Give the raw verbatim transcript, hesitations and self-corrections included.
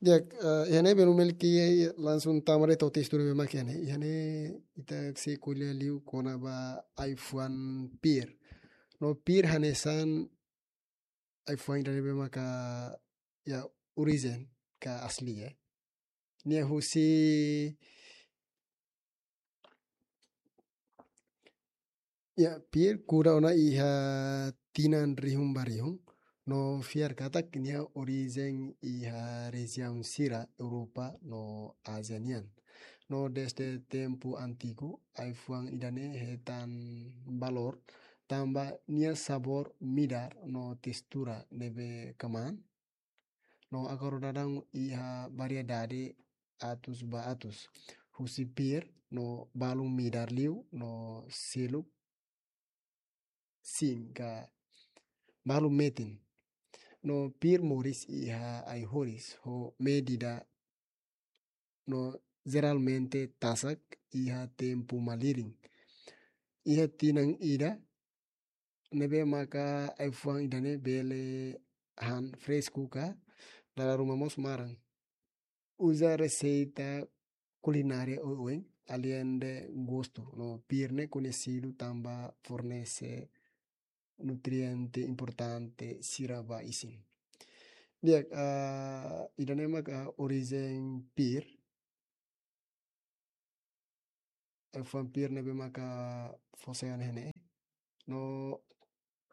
Di'ak, eh, iha ne'e belun Melki langsung tama de'it to'o testu ne'ebé mak iha ne'e. Iha ne'e ita sei ko'alia liu kona-ba ai-fuan pir. No pir hanesan ai-fuan ida ne'ebé maka iha orijen ka asli, eh. Nia husi, iha pir kuda ona iha tinan rihun ba rihun, no fiar katak nia orijen iha rejiaun sira Europa no Ázia nian. No dezde tempu antigu, ai-fuan ida-ne'e hetan valór tanba nia sabór midar no testura ne'ebé kmaan. No agora daudaun iha variedade atus ba atus. Husi pir no balun midar liu no seluk sin ka balun metin. No pir moris iha ai-horis ho medida no jeralmente tasak iha tempu malirin. Iha tinan ida ne'ebé maka ai-fuan ida-ne'e bele han fresku ka dala ruma mós maran. Uza reseita kulinária oioin, além de gostu, no pir ne'e koñesidu tanba fornese nutriente importante sira ba isin. Di'ak, ah, ida-ne'e maka orijen pir. Ai-fuan pir ne'ebé maka fó sai ona iha ne'e. No